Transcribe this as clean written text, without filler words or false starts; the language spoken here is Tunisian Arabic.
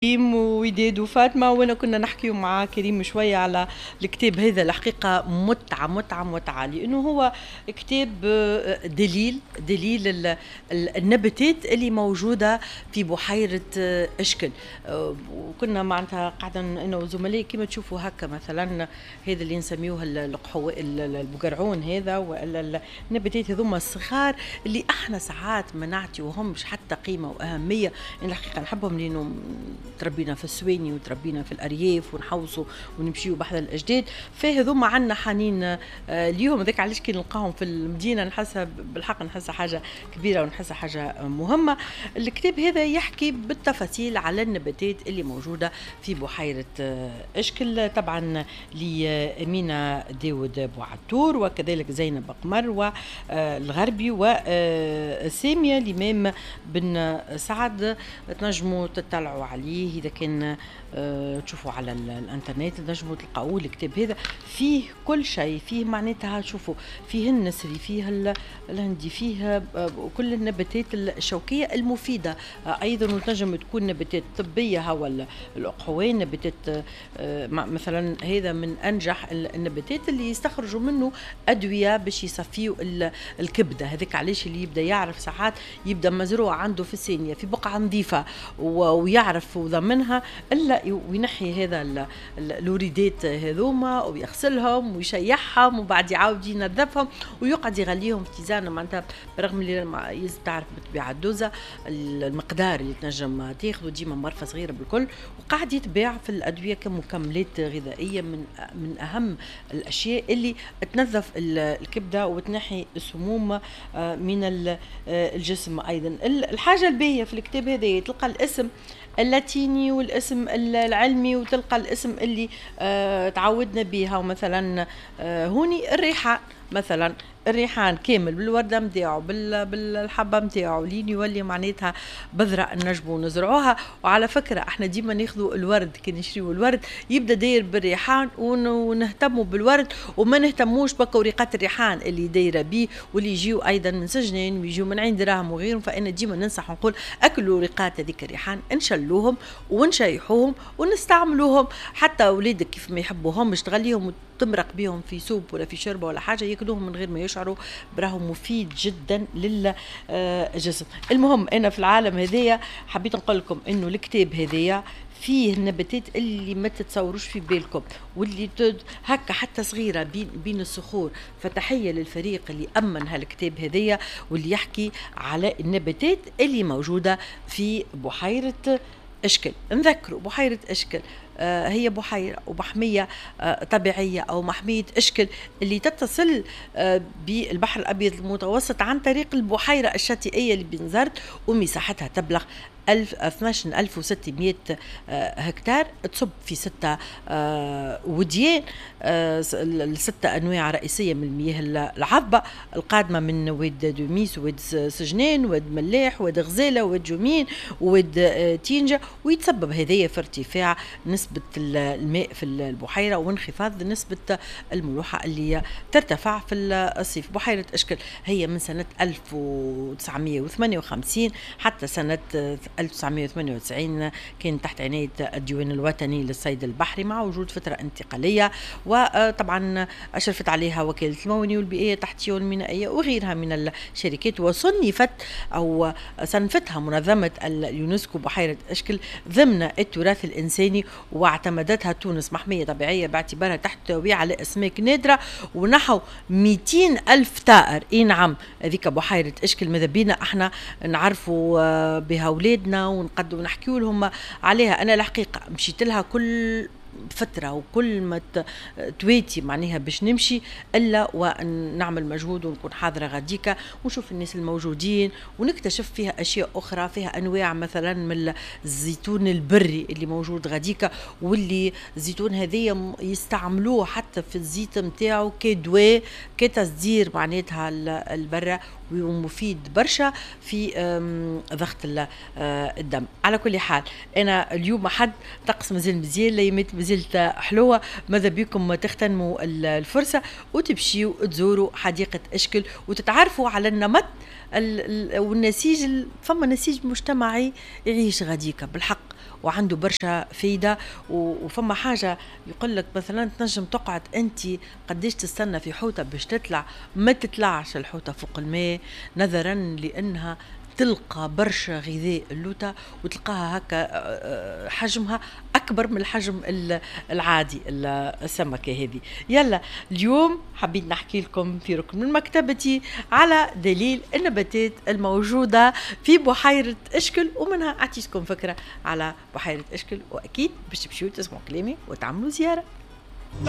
كريم ووداد وفاطمة، وانا كنا نحكي مع كريم شوية على الكتاب هذا. الحقيقة متعه متعه متعه، لانه هو كتاب دليل النباتات اللي موجودة في بحيرة اشكل. وكنا معناتها قاعدة انا وزملائي كما تشوفوا هكا، مثلا هذا اللي نسميوه القحو البقرعون هذا، والا النباتات هذوما الصغار اللي احنا ساعات ما نعطيوهمش حتى قيمة واهميه. الحقيقة نحبهم لانه تربينا في السواني وتربينا في الارياف ونحوصوا ونمشيو بحذا الاجداد، فهذوما عندنا حنين ليهم. هذاك علاش كي نلقاهم في المدينة نحسها بالحق، نحسها حاجة كبيرة ونحسها حاجة مهمة. الكتاب هذا يحكي بالتفاصيل على النباتات اللي موجودة في بحيرة اشكل، طبعا لأمينة داود بوعتور وكذلك زينب قمر والغربي وساميه الامام بن سعد. تنجموا تطلعوا عليه اذا كان تشوفوا على الانترنت، تنجموا تلقاوه. الكتاب هذا فيه كل شيء، فيه معناتها شوفوا فيه النسري، فيه الهندي، فيه كل النباتات الشوكيه المفيدة ايضا، وتنجم تكون نباتات طبية. هو الاقحوان نباتات مثلا، هذا من انجح النباتات اللي يستخرجوا منه ادوية باش يصفيوا الكبده. هذاك علاش اللي يبدا يعرف ساعات يبدا مزروع عنده في السانيه في بقعة نظيفة ويعرف وضمنها الا وينحي هذا الوريدات هذوما ويغسلهم ويشيحهم وبعد يعاود ينظفهم ويقعد يغليهم في tisane. معناتها برغم اللي لازم تعرف بالطبيعة الدوزه، المقدار اللي تنجم تاخذه ديما مرفه صغيرة بالكل، وقاعد يتباع في الادوية كمكملات غذائية، من اهم الاشياء اللي تنظف الكبده وتنحي السموم من الجسم. ايضا الحاجة الباهيه في الكتاب هذا تلقى الاسم اللاتيني والاسم العلمي وتلقى الاسم اللي تعودنا بها. ومثلا هوني الريحان، مثلا الريحان كامل بالورده نتاعو بالحبه نتاعو لين يولي معناتها بذرة نجمو نزرعوها. وعلى فكرة احنا ديما ناخذوا الورد، كي نشريو الورد يبدا داير بالريحان ونهتموا بالورد وما نهتموش بكوريقات الريحان اللي دايرة بيه واللي يجيو ايضا من سجنين ويجيو من عين دراهم وغيرهم. فانا ديما ننصح ونقول اكلوا وريقات هذيك الريحان، نشلوهم ونشيحوهم ونستعملوهم، حتى اولادك كيف ما يحبوهمش تغليهم وتمرق بيهم في soupe ولا في شوربة ولا حاجة، ياكلوهم من غير ما يشعروا، براهم مفيد جدا للجسم. المهم انا في العالم هذايا حبيت نقول لكم انه الكتاب هذايا فيه النباتات اللي ما تتصوروش في بالكم واللي هكا حتى صغيرة بين الصخور. فتحيه للفريق اللي امن هالكتاب هذايا واللي يحكي على النباتات اللي موجودة في بحيرة اشكل. نذكروا بحيرة اشكل هي بحيرة ومحمية طبيعية أو محمية إشكل اللي تتصل بالبحر الأبيض المتوسط عن طريق البحيرة الشاطئية اللي بنزرت، ومساحتها تبلغ 12600 هكتار، تصب في 6 وديان، الستة أنواع رئيسية من المياه العذبة القادمة من واد دوميس واد سجنان واد ملاح واد غزالة واد جومين واد تينجا، ويتسبب هذايا في ارتفاع نسبة الماء في البحيرة وانخفاض نسبة الملوحة اللي ترتفع في الصيف. بحيرة إشكل هي من سنة 1958 حتى سنة 1998 كان تحت عناية الديوان الوطني للصيد البحري مع وجود فترة انتقالية، وطبعا أشرفت عليها وكالة الموانئ والبيئية التحتية والمينائية وغيرها من الشركات، وصنفت أو صنفتها منظمة اليونسكو بحيرة إشكل ضمن التراث الإنساني، واعتمدتها تونس محمية طبيعية باعتبارها تحتوي على أسماك نادرة ونحو 200 ألف طائر. إي نعم، هذيك بحيرة إشكل ماذا بينا احنا نعرفوا بها أولادنا ونقدروا نحكيوا لهم عليها. أنا الحقيقة مشيت لها كل فترة وكل ما تواتي معناها باش نمشي إلا ونعمل مجهود ونكون حاضرة غاديكا ونشوف الناس الموجودين ونكتشف فيها أشياء أخرى، فيها أنواع مثلا من الزيتون البري اللي موجود غاديكا، واللي الزيتون هذيا يستعملوه حتى في الزيت نتاعو كدواء كتصدير معناتها البرة، ومفيد برشا في ضغط الدم. على كل حال انا اليوم حد طقس مازال مزيان، الايامات مازالت حلوة، ماذا بكم تغتنموا الفرصة وتمشيوا تزوروا حديقة اشكل وتتعرفوا على النمط والنسيج. فما نسيج مجتمعي يعيش غاديكا بالحق. وعنده برشا فايده. وفما حاجة يقول لك مثلا تنجم تقعد انت قديش تستنى في حوته باش تطلع، ما تطلعش الحوته فوق الماء نظرا لانها تلقى برشا غذاء اللوطة، وتلقاها هكا حجمها أكبر من الحجم العادي السمكة هذه. يلا اليوم حبيت نحكي لكم في ركن من مكتبتي على دليل النباتات الموجودة في بحيرة إشكل، ومنها أعطيتكم فكرة على بحيرة إشكل، وأكيد باش تمشيو تسمعوا كلامي وتعملوا زيارة.